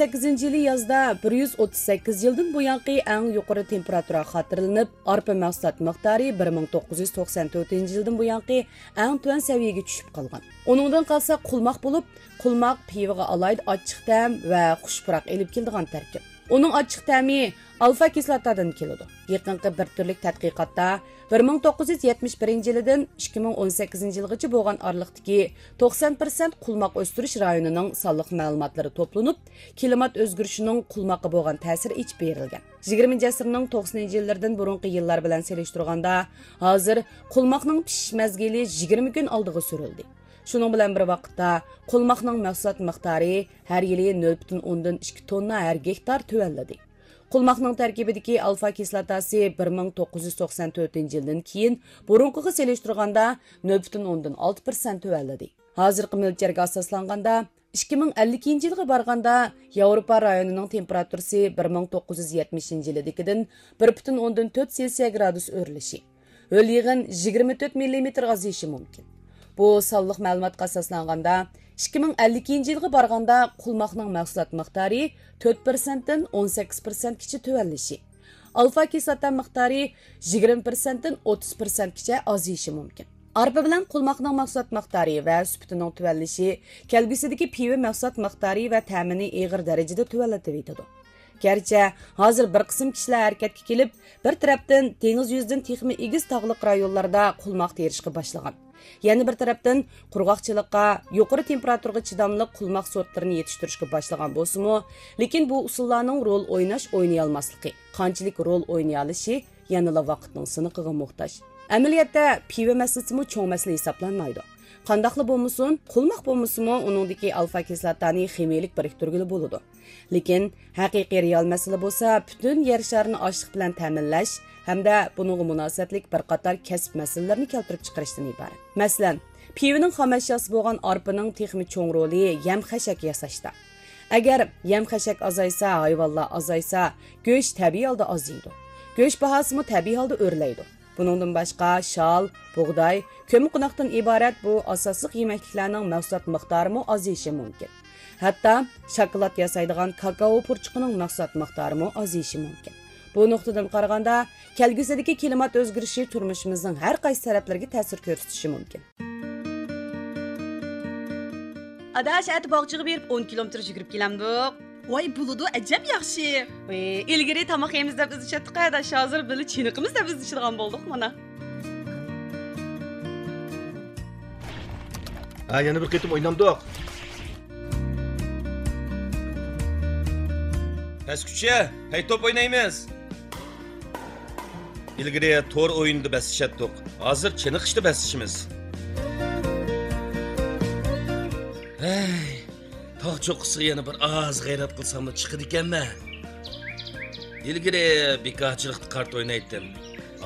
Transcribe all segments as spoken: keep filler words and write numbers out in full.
سەككىزىنچى يىلى يازدا بىر يۈز ئوتتۇز سەككىز يىلدىن بۇيانقى ئەڭ يۇقىرى تېمپېراتۇرا خاتىرىلىنىپ، ئارپا مەھسۇلات مىقدارى بىر مىڭ توققۇز يۈز توقسان تۆتىنچى يىلدىن بۇيانقى ئەڭ تۆۋەن سەۋىيەگە چۈشۈپ قالغان. ئۇنىڭدىن قالسا قۇلماق بولۇپ، قۇلماق پىۋىغا ئالاھىدە ئاچچىق تەم ۋە خۇش پۇراق ئېلىپ كېلىدىغان تەركىب. ئۇنىڭ ئاچچىق تەمى ئالفا كىسلاتادىن كېلىدۇ. يېقىنقى بىر تۈرلۈك تەتقىقاتتا بىر مىڭ توققۇز يۈز يەتمىش بىرىنچى يىلىدىن ئىككى مىڭ ئون سەككىزىنچى يىلغىچە بولغان ئارىلىقتىكى توقسان پىرسەنت قۇلماق ئۆستۈرۈش رايونىنىڭ سانلىق مەلۇماتلىرى توپلىنىپ، كىلىمات ئۆزگىرىشىنىڭ قۇلماققا بولغان تەسىرى ئېچىپ بېرىلگەن. يىگىرمىنچى ئەسىرنىڭ توقسىنىنچى يىللىرىدىن بۇرۇنقى يىللار بىلەن سېلىشتۇرغاندا، ھازىر قۇلماقنىڭ پىشىش مەزگىلى يىگىرمە كۈن ئالدىغا سۈرۈلدى. شۇنىڭ بىلەن بىر ۋاقىتتا، قۇلماقنىڭ مەھسۇلات مىقدارى ھەر يىلى نۆل پۈتۈن ئوندىن ئىككى توننا ھەر گېكتار تۆۋەنلىدى. قۇلماقنىڭ تەركىبىدىكى ئالفا كىسلاتاسى بىر مىڭ توققۇز يۈز توقسان تۆتىنچى يىلدىن كېيىن بۇرۇنقىغا سېلىشتۇرغاندا نۆل پۈتۈن ئوندىن ئالتە پىرسەنت تۆۋەنلىدى. ھازىرقى مۆلچەرگە ئاساسلانغاندا، ئىككى مىڭ ئەللىكىنچى يىلغا بارغاندا ياۋروپا رايونىنىڭ تېمپېراتۇرىسى بىر مىڭ توققۇز يۈز يەتمىشىنچى يىلىدىكىدىن بىر پۈتۈن ئوندىن تۆت سېلسىيە گرادۇس ئۆرلىشى، ھۆل يېغىن يىگىرمە تۆت مىللىمېتىرغا ئازىيىشى مۇمكىن. بۇ سانلىق مەلۇماتقا ئاساسلانغاندا، ئىككى مىڭ ئەللىكىنچى يىلغا بارغاندا قۇلماقنىڭ مەھسۇلات مىقدارى تۆت پىرسەنتتىن ئون سەككىز پىرسەنتكىچە تۆۋەنلىشى، ئالفا كىسلاتا مىقدارى يىگىرمە پىرسەنتتىن ئوتتۇز پىرسەنتكىچە ئازىيىشى مۇمكىن. ئارپا بىلەن قۇلماقنىڭ مەھسۇلات مىقدارى ۋە سۈپىتىنىڭ تۆۋەنلىشى كەلگۈسىدىكى پىۋا مەھسۇلات مىقدارى ۋە تەمىنى ئېغىر دەرىجىدە تۆۋەنلىتىۋېتىدۇ. گەرچە ھازىر بىر قىسىم كىشىلەر ھەرىكەتكە كېلىپ، بىر تەرەپتىن دېڭىز يۈزىدىن تېخىمۇ ئېگىز تاغلىق رايونلاردا قۇلماق تېرىشقا باشلىغان. يەنە بىر تەرەپتىن، قۇرغاقچىلىققا، يۇقىرى تېمپېراتۇرىغا چىداملىق قۇلماق سورتلىرىنى يېتىشتۈرۈشكە باشلىغان بولسىمۇ، لېكىن بۇ ئۇسۇللارنىڭ رول ئويناش، ئوينىيالماسلىقى، قانچىلىك رول ئوينىيالىشى يەنىلا ۋاقىتنىڭ سىنىقىغا موھتاج. ئەمەلىيەتتە، پىۋا مەسىلىسىمۇ چوڭ مەسىلە ھېسابلانمايدۇ. قانداقلا بولمىسۇن، قۇلماق بولمىسىمۇ، ئۇنىڭدىكى ئالفا كىسلاتانى خىمىيىلىك بىرىكتۈرگىلى بولىدۇ. لېكىن ھەقىقىي رېئال مەسىلە بولسا پۈتۈن يەر شارىنى ئاشلىق بىلەن تەمىنلەش ھەمدە بۇنىڭغا مۇناسىۋەتلىك بىر قاتار كەسىپ مەسىلىلىرىنى كەلتۈرۈپ چىقىرىشتىن ئىبارەت. مەسىلەن، پىۋىنىڭ خام ئەشياسى بولغان ئارپىنىڭ تېخىمۇ چوڭ رولى يەم خەشەك ياساشتا. ئەگەر يەم خەشەك ئازايسا، ھايۋانلار ئازايسا، گۆش تەبىئىي ھالدا ئازىيىدۇ. گۆش باھاسىمۇ تەبىئىي ھالدا ئۆرلەيدۇ. بۇنىڭدىن باشقا، شال، بۇغداي، كۆممىقوناقتىن ئىبارەت بۇ ئاساسلىق يېمەكلىكلەرنىڭ مەھسۇلات مىقدارىمۇ ئازىيىشى مۇمكىن. ھەتتا شاكىلات ياسايدىغان كاكائو پۇرچۇقىنىڭ مەھسۇلات مىقدارىمۇ ئازىيىشى مۇمكىن. بۇ نۇقتىدىن قارىغاندا، كەلگۈسىدىكى كىلىمات ئۆزگىرىشى تۇرمۇشىمىزنىڭ ھەر قايسى تەرەپلىرىگە تەسىر كۆرسىتىشى مۇمكىن. ئاداش، ئەتە باغچىغا بېرىپ ئون كىلومېتىر يۈگۈرۈپ كېلەمدۇق؟ ۋاي، بولىدۇ، ئەجەب ياخشى. ئىلگىرى تاماق يەيمىز دەپ ئىزدىشەتتۇق ئاداش، ھازىر بىللە چېنىقىمىز دەپ ئىزدىشىدىغان بولدۇق مانا. ھە، يەنە بىر قېتىم ئوينامدۇق؟ پەسكۈچە، پەي توپ ئوينايمىز. ئىلگىرى تور ئويۇنىدا بەسلىشەتتۇق، ھازىر چېنىقىشتا بەسلىشىمىز. ھەي، تاغ چوققىسىغا يەنە بىر ئاز غەيرەت قىلساملا چىقىدىكەنمەن. ئىلگىرى بىكارچىلىقتا قارت ئوينايتتىم.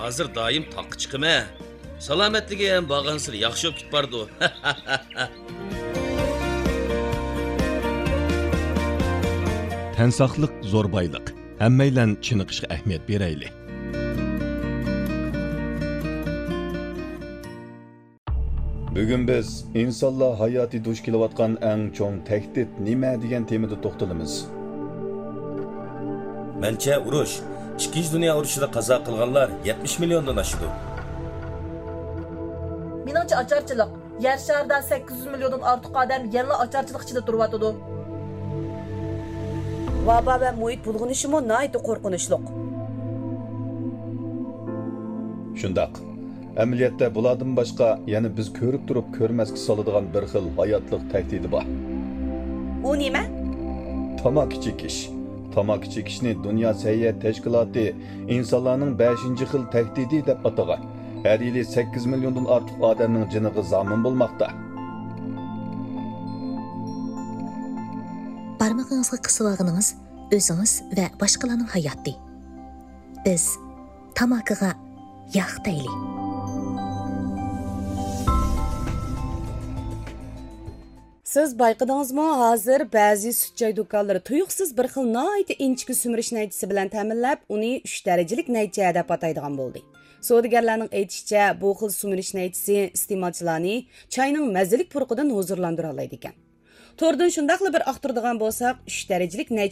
ھازىر دائىم تاغقا چىقىمەن. سالامەتلىكىم بارغانسېرى ياخشى بولۇپ كېتىپ بارىدۇ. تەن ساقلىق زور بايلىق. ھەممەيلەن چېنىقىشقا ئەھمىيەت بېرەيلى. بۈگۈن بىز ئىنسانلار ھاياتى دۇچ كېلىۋاتقان ئەڭ چوڭ تەھدىت نېمە دېگەن تېمىدا توختىلىمىز. مەنچە، ئۇرۇش، ئىككىنچى دۇنيا ئۇرۇشىدا قازا قىلغانلار يەتمىش مىليوندىن ئاشىدۇ. مېنىڭچە، ئاچارچىلىق. يەر شارىدا سەككىز يۈز مىليوندىن ئارتۇق ئادەم يەنىلا ئاچارچىلىق ئىچىدە تۇرۇۋاتىدۇ. ۋابا ۋە مۇھىت بۇلغىنىشىمۇ ناھايىتى قورقۇنچلۇق. شۇنداق. ئەمەلىيەتتە بۇلاردىن باشقا يەنە بىز كۆرۈپ تۇرۇپ كۆرمەسكە سالىدىغان بىر خىل ھاياتلىق تەھدىتى بار. ئۇ نېمە؟ تاماكا چېكىش. تاماكا چېكىشنى دۇنيا سەھىيە تەشكىلاتى ئىنسانلارنىڭ بەشىنچى خىل تەھدىتى دەپ ئاتىغان. ھەر يىلى سەككىز مىليوندىن ئارتۇق ئادەمنىڭ جېنىغا زامىن بولماقتا. بارمىقىڭىزغا قىسىۋالغىنىڭىز ئۆزىڭىز ۋە باشقىلارنىڭ ھاياتى. بىز تاماكىغا ياق دەيلى. سىز بايقىدىڭىزمۇ، ھازىر بەزى سۈت چاي دۇكانلىرى تۇيۇقسىز بىر خىل ناھايىتى ئىنچىكە سۈمۈرۈش نەيچىسى بىلەن تەمىنلەپ، ئۇنى ئۈچ دەرىجىلىك نەيچە دەپ ئاتايدىغان بولدى. سودىگەرلەرنىڭ ئېيتىشىچە، بۇ خىل سۈمۈرۈش نەيچىسى ئىستېمالچىلارنى چاينىڭ مەززىلىك پۇرىقىدىن ھۇزۇرلاندۇرالايدىكەن. توردىن شۇنداقلا بىر ئاختۇرىدىغان بولساق، ئۈچ دەرىجىلىك نەي